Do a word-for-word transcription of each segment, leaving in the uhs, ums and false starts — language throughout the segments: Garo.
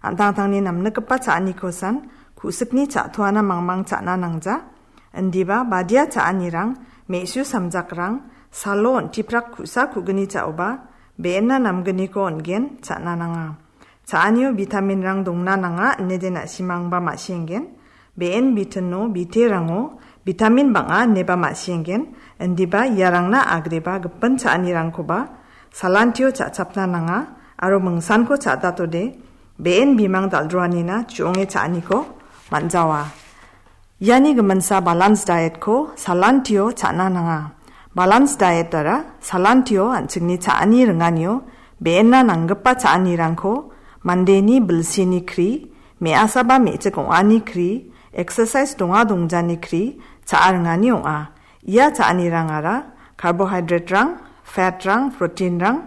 an·tangtangni namnikgipa cha·anikosan ku·sikni cha·toana mangmang cha·na nangja. Indiba badia cha·anirang, me·su samjakrang, salo on·tiprak ku·sa ku·gni cha·oba, be·enna namgniko on·gen cha·na nanga. Cha·anio vitaminrang dongna nanga inede na·simangba ma·sienggen. Be·en bitino, biterango vitamin bang·a ineba ma·sienggen. Indiba iarangna agreba gipin cha·anirangkoba salantio cha·chapna nanga aro mingsanko cha·datode be·en bimang dal·droanina chu·onge cha·aniko man·jawa. Iani giminsa balance diet-ko salantio cha·na nanga. Balance diet-ara salantio an·chingni cha·ani ringanio be·enna nanggipa cha·anirangko mandeni bilsini kri, me·asaba me·chik ong·ani kri, exercise donga dongjani kri cha·a ringani ong·a. Ia cha·anirangara carbohydrate-rang, fat-rang, protein-rang,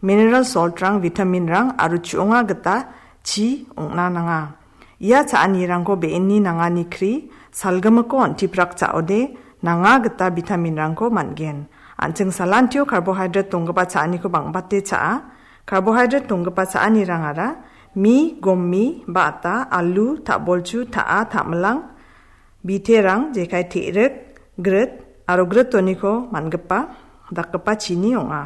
mineral salt-rang, vitamin-rang aro chu·onga gita chi ong·na nanga. Ia cha·anirangko be·enni nangani kri, salgimiko on·tiprak cha·ode nanga gita vitamin-rangko man·gen. An·ching salantio carbohydrate donggipa cha·aniko bang·bate cha·a. Carbohydrate donggipa cha·anirangara mi, gommi, ba·ata, alu, ta·bolchu, ta·a, ta·milang, biterang, jekai te·rik, grit, aro gritoniko man·gipa, dakgipa chini ong·a.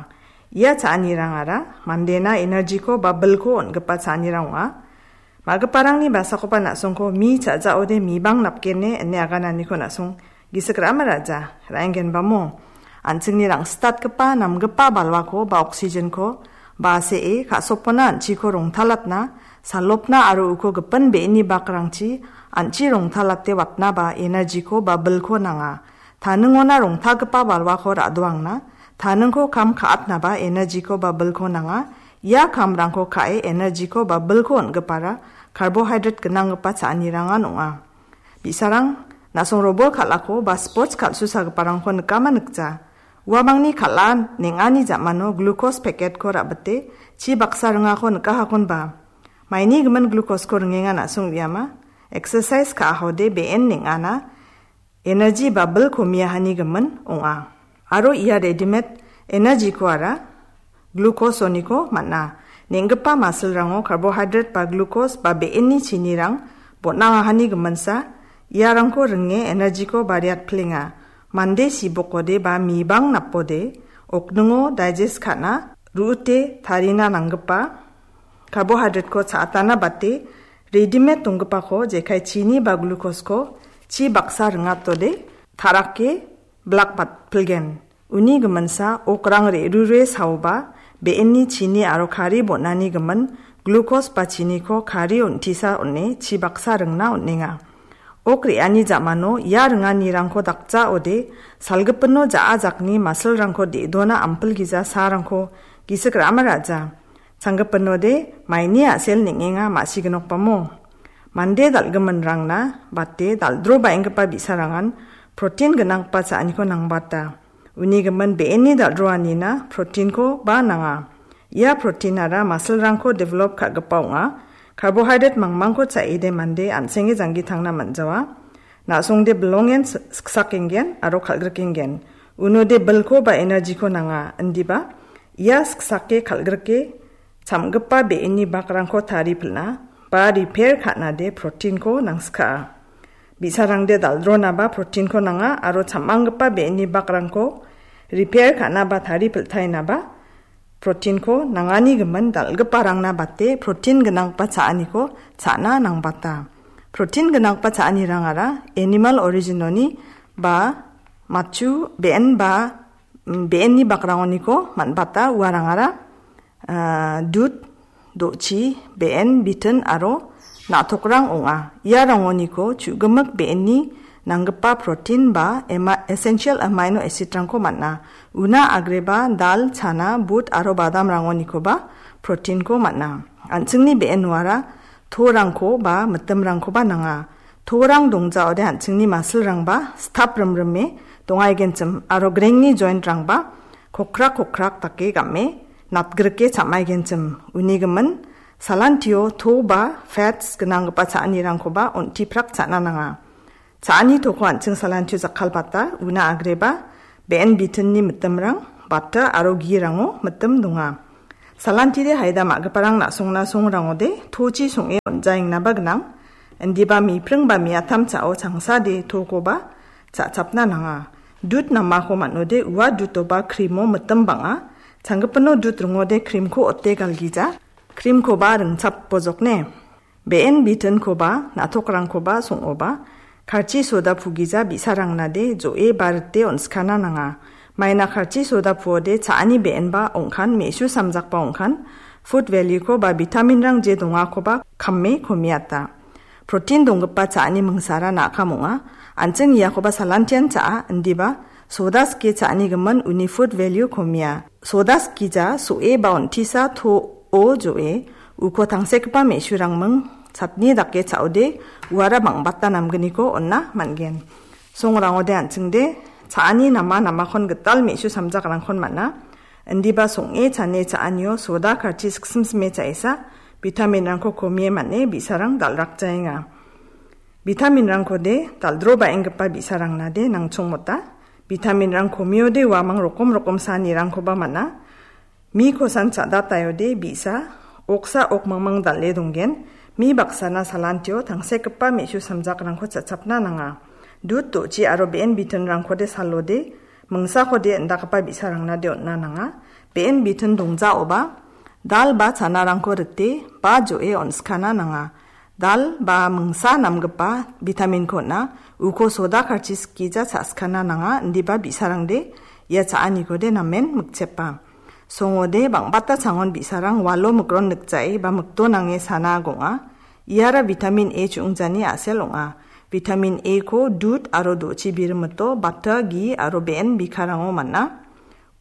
Ia cha·anirangara mandena energy-ko ba bilko on·gipa cha·anirang ong·a. Ma·giparangni basakoba na·songko mi cha·jaode mibang napgene ine agananiko na·song gisik ra·a ma ra·ja, ra·enggenbamo. An·chingni rangsitatgipa namgipa balwako ba oxygen-ko ba see ka·sopona an·chiko rongtalatna, salopna aro uko gipin be·eni bakrangchi an·chi rongtalate watna ba energy-ko ba bilko nanga. Taningona rongtalgipa balwako ra·doangna, taningko kam ka·atnaba energy-ko ba bilko nanga. Ia kamrangko ka·e energy-ko ba bilko on·gipara carbohydrate gnanggipa cha·anirangan ong·a. Bi·sarang, na·song robol kal·ako ba sports kal·susagiparangko nikama nikja. Uamangni kal·a neng·ani ja·mano glucose packet-ko ra·bite chi baksa ringako nikahakonba. Maini gimin glucose-ko ringenga na·song uiama. Exercise ka·ahode be·en neng·ana energy ba bilko miahani gimin ong·a. Aro ia readymade energy-koara glucose-oniko man·a. Neng·gipa masilrango carbohydrate ba glucose ba be·eni chinirang bon·angahani giminsa, iarangko ringe energy-ko bariatplenga. Mande sibokode ba mibang napode, okningo digest ka·na, ru·ute tarina nanggipa carbohydrate-ko cha·atana bate, readymade donggipako jekai chini ba glucose-ko chi baksa ringatode, ta·rake bilak batpilgen. Uni giminsa okrang re·rure saoba, be·eni chini aro kari bon·ani gimin glucose ba chiniko kari on·tisa on·e chi baksa ringna on·enga. Ok re·ani ja·mano ia ringanirangko dakjaode, salgipino ja·a jakni masilrangko de·dona ampilgija saarangko gisik ra·ama ra·ja. Changgipinode maini a·sel neng·enga ma·siginokbamo. Mande dal·giminrangna bate dal·drobaenggipa bi·sarangan protein gnanggipa cha·aniko nangbata. Uni gimin be·eni dal·droanina protein-ko ba nanga. Ia protein-ara masilrangko develop ka·gipa ong·a. Carbohydrate mangmangko cha·ede mande an·senge janggi tangna man·jawa. Na·songde bilongen s-, siksakenggen aro kal·grikenggen. Unode bilko ba energy-ko nanga, indiba ia siksake kal·grike chamgipa be·eni bakrangko tari pil·na ba repair ka·nade protein-ko nangsikaa. Bi·sarangde dal·dronaba protein-ko nanga aro cham·anggipa be·eni bakrangko repair ka·naba tari pil·taenaba protein-ko nangani gimin dal·giparangna bate protein gnanggipa cha·aniko cha·na nangbata. Protein gnanggipa cha·anirangara animal origin-oni ba matchu be·en ba, mm, be·enni bakrangoniko man·bata uarangara, ah, dud, do·chi, be·en, bitin aro na·tokrang ong·a. Ia rangoniko chu·gimik be·enni nanggipa protein ba ema-, essential amino acid-rangko man·a. Una agreba dal, chana, but aro badamrangonikoba protein-ko man·a. An·chingni be·en uara torangko ba mitimrangkoba nanga. Torang dongjaode an·chingni masilrangba stap rimrime dongaigenchim aro grengni joint-rangba kokrak kokrak dake game natgrike cham·aigenchim. Uni gimin salantio to ba fats gnanggipa cha·anirangkoba on·tiprak cha·na nanga. Cha·ani toko an·ching salantio jakkalbata una agreba be·en bitinni mitimrang, bata aro girango mitim donga. Salantide haida ma·giparang na·songna songrangode tochi song·e on·jaengnaba gnang. Indiba mipring ba miatam cha·o changsade tokoba cha·chapna nanga. Dut namako man·ode ua dutoba krimo mitim bang·a. Changgipino dut ringode krimko ote galgija. Krimkoba ringchap bojokne. Be·en bitinkoba, na·tokrangkoba song·oba, karchi soda pugija bi·sarangnade jo·e ba rite on·skana nanga. Maina karchi soda puode cha·ani be·enba ong·kan, me·su samjakba ong·kan, food value-ko ba vitamin-rang je dongakoba kame komiata. Protein donggipa cha·ani mingsara na·kam ong·a, an·ching iakoba salantian cha·a, indiba soda sike cha·ani gimin uni food value komia. Soda sikija so·e ba on·tisa to-, o jo·e, uko tangsekgipa me·surangming chatni dake cha·ode, uara bang·bata namgniko on·na man·gen. Songrangode an·chingde, cha·ani nama namakon gital me·su samjakrangkon man·a. Indiba song·e chane cha·anio soda karchi siksimsime cha·esa, vitamin-rangko komie man·e bi·sarang dal·rakjaenga. Vitamin-rangkode dal·drobaenggipa bi·sarangnade nangchongmota. Vitamin-rang komiode uamang rokom rokom sanirangkoba man·a. Mi kosan cha·dataiode bi·sa, oksa okmangmang dal·e donggen. Mi baksana salantio tangsekgipa me·su samjakrangko cha·chapna nanga. Dut do·chi aro be·en bitinrangkode salode, mingsakode indakgipa bi·sarangnade on·na nanga. Be·en bitin dongjaoba, dal ba chanarangko rite, ba jo·e on·skana nanga. Dal ba mingsa namgipa vitamin-ko on·a, uko soda karchi sikija cha·skana nanga, indiba bi·sarangde ia cha·anikode namen mikchepa. Songode bang·bata changon bi·sarang walo mikron nikjae ba mikdo nange sana gong·a. Iara vitamin A chu·ongjani a·sel ong·a. Vitamin A-ko dut aro do·chi birimito, bata, gi aro be·en bikarango man·a.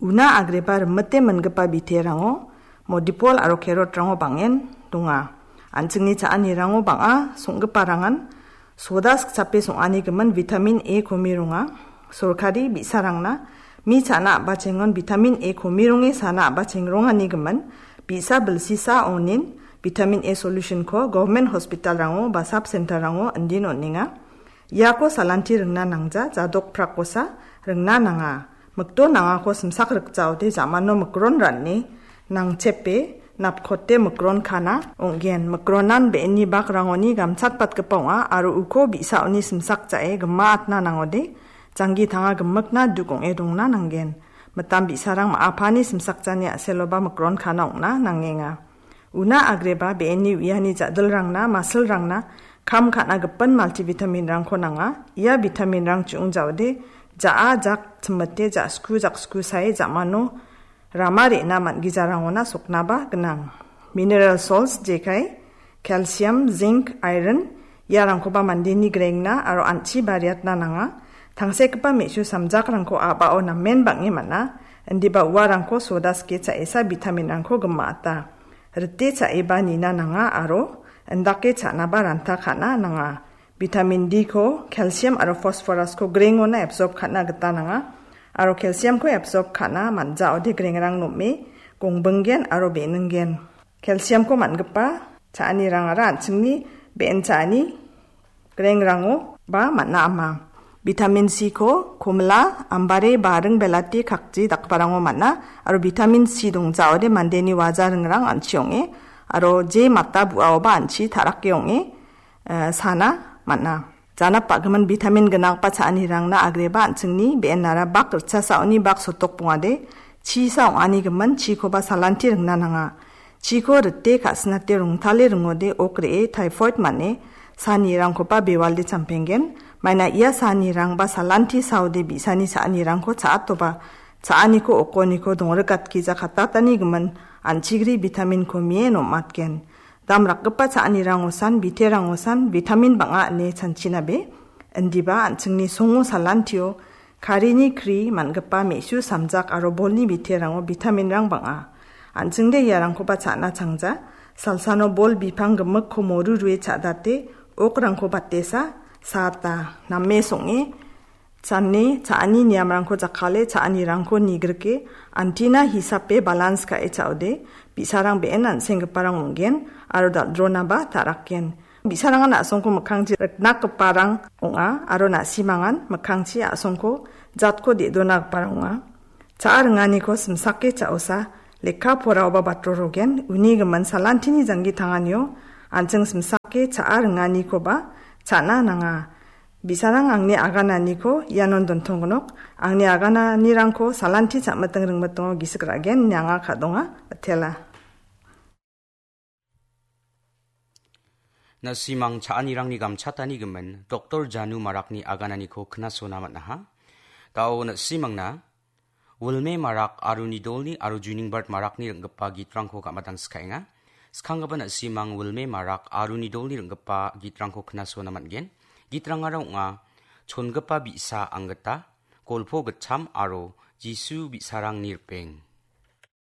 Una agreba rimite mingipa biterango modipol aro carrot-rango bang·en donga. An·chingni cha·anirango bang·a song·giparangan soda sikchape song·ani gimin vitamin A komi ronga. Sorkari bi·sarangna mi cha·na a·bachengon vitamin A komi ronge sana a·bacheng rongani gimin bi·sa bilsisa onin vitamin A solution-ko government hospital-rango ba sub center-rango indin on·enga. Iako salanti ringna nangja, jadok prakosa ringna nanga. Mikdo nangako simsak rikjaode jamano mikron ran·e nangchepe napkote mikron kana ong·gen. Mikronan be·eni bakrangoni gamchatbatgipa ong·a aro uko bi·saoni simsak ja·e gima atna nangode janggi tanga gimikna duk ong·e dongna nanggen. Mitam bi·sarang ma·apani simsakjani a·seloba mikron kana ong·na nangenga. Una agreba be·eni uiani ja·dilrangna, masilrangna, kam ka·na gipin multivitamin-rangko nanga. Ia vitamin-rang chu·ong jaode, ja·a jak chimite, ja·sku jaksku sae, ja·mano rama re·na man·gijarangona soknaba gnang. Mineral salts jekai, calcium, zinc, iron, iarangkoba mandeni grengna aro an·chi bariatna nanga. Tangsekgipa me·su samjakrangko a·bao namen bang·e man·a, indiba uarangko soda sike cha·esa vitamin-rangko gima·ata. Rite cha·eba nina nanga aro indake cha·naba ranta ka·na nanga. Vitamin D-ko, calcium aro phosphorus-ko grengona absorb ka·na gita nanga. Aro calcium-ko absorb ka·na man·jaode grengrang nom·e gongbinggen aro be·ningen. Calcium-ko man·gipa cha·anirangara an·chingni be·en cha·ani grengrango ba man·a ama. Vitamin C-ko komila, ambare, baring, belati, kakji dakgiparango man·a. Aro vitamin C dongjaode mandeni waja ringrang an·chi ong·e. Aro je mata bu·aoba an·chi ta·rake ong·e, eh, sana man·a. Janap ba·gimin vitamin gnanggipa cha·anirangna agreba an·chingni be·enara bak ritchasaoni bak sotok bongade, chisa ong·ani gimin chikoba salanti ringna nanga. Chiko rite ka·sinate rongtale ringode ok re·e typhoid man·e sanirangkoba bewalde champenggen. Maina ia sanirangba salanti saode bi·sani cha·anirangko cha·atoba cha·aniko okoniko dongrikatgija katatani gimin an·chigri vitamin-ko mie nom·atgen. Damrakgipa cha·anirangosan, biterangosan vitamin bang·a ine chanchinabe. Indiba an·chingni songo salantio karini kri man·gipa me·su samjak aro bolni biterango vitamin-rang bang·a. An·chingde iarangkoba cha·na changja. Salsano bol bipang gimikko moru rue cha·date, okrangko batesa, saata, name song·e, chane, cha·ani niamrangko jakkale, cha·anirangko nigrike, antina hisape balans ka·e cha·ode, bi·sarang be·en an·senggiparang ong·gen, aro dal·dronaba ta·rakgen. Bi·sarangan a·songko mikkangchi riknakgiparang ong·a, aro na·simangan mikkangchi a·songko jatko de·donagiparang ong·a. Cha·a ringaniko simsake cha·osa, Lekka poraoba batrorogen, uni gimin salantini janggi tanganio, an·ching simsake cha·a ringanikoba cha·na nanga. Bi·sarang angni agananiko ianon dontonggnok, angni agananirangko salanti cha·miting ringmitingo gisik ra·gen ine anga ka·donga, mitela. Na·simang cha·anirangni gamchatani gimin, Doktor Janu Marakni agananiko knasona man·aha. Gao na·simangna Wilme Marak aro nidolni aro Juningbart Marakni ring·gipa gitrangko gamadang skaenga. Skanggipa na·simang Wilme Marak aro nidolni ring·gipa gitrangko knasona man·gen. Gitrangara ong·a, chongipa bi·sa anggita, golpo gitcham aro Jisu bi·sarangni ripeng.